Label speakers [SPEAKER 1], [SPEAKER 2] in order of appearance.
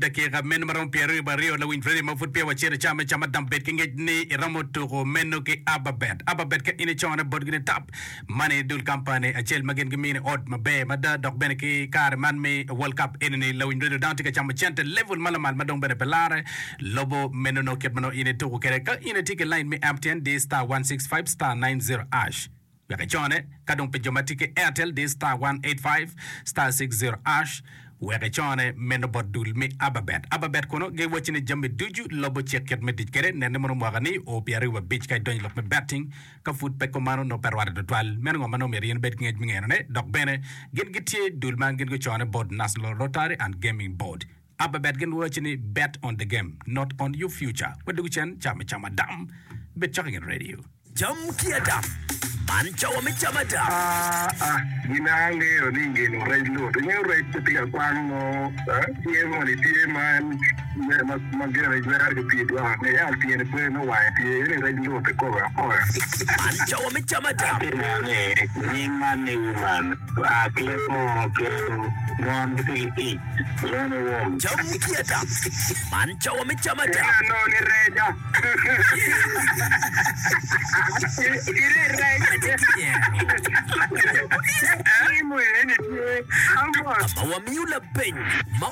[SPEAKER 1] Dakika meno ma romo 22 lawiny radio ma pud peya wacito i cam me cam adam bed ki ngec ni iromo tuko meno ki Ababet. Ababet ka in icone botgi ni tap money dul kampani acel ma gin gimini ot maber mada dok bene ki kare man me World Cup enini lawiny radio dano tye ka camo cente level ma lamal ma dong bene pe lare lobo meno nongo kit ma nongo in ituko kwede ka in itye ki line me MTN di star 165 star 90 ash. Wek icone, ka dong pi jo ma tye ki Airtel di star 185 star 60 ash wek icone meno bot dul me Ababet. Ababet kono giwacci ni jami ducu lobo cik kit me tic kwede. Nen ni mono mwaka ni o 25 ka idonyo i lok me betting ka pud pe kumano nongo pe rwate tutwal. Meno ngo ma nongo myero in ibed ki ngec me ngeno ne. Dok bene gin gitye dul ma gin gucone bot National Lottery and Gaming Board. Ababet gin giwacci ni bet on the game not on your future. Wadwogo cen ca me camo adam. Bed cok i nget radio.
[SPEAKER 2] Cam ki adam. Man cawa me cam adam.
[SPEAKER 3] Aa, gin a angeyo ni ngeno rec lut. Ingeyo rec pe tye ka kwang mo, tye moni tye ma en ma gire jwero ki pii dwoko ne yam tyene pe me wange tye eni rec lut kikome akoya.
[SPEAKER 2] Man cawa me cam adam.
[SPEAKER 4] Atye neno ni nying man ni woman oa ki leb munu kelo mon gitye ki ic lone wom.
[SPEAKER 2] Cam ki adam. Man cawa me cam adam.
[SPEAKER 3] Ento anongo ni reca.
[SPEAKER 2] Ka ma wamiyo lapeny ma.